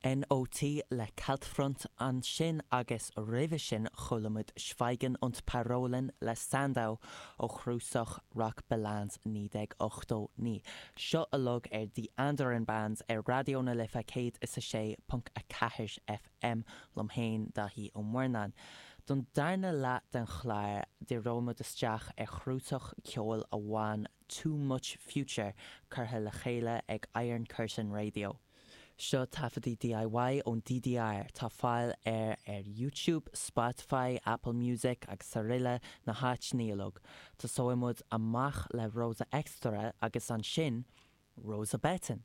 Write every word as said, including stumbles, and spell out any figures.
NOT le Kaltfront ansin agus roimhe sin chuala muid Schweigen und Parolen le Sandow ó chnuasach Rockbilanz naoi déag ochtó naoi. Seo uilig ar The Andaran Bands ar Raidió na Life céad is a sé ponc a ceathair FM liom féin Daithí Ó Murnáin. Don darna leath den chlár díreoidh muid isteach ar chnuasach ceoil a bhain Too Much Future curtha le chéile ag Iron Curtain Radio. Seo taifeadtaí DIY ón DDR tá fáil air ar YouTube, Spotify, Apple Music agus araile na háiteanna uilig. Tosóidh muid amach le Rosa Extra agus ansin Rosa Betton.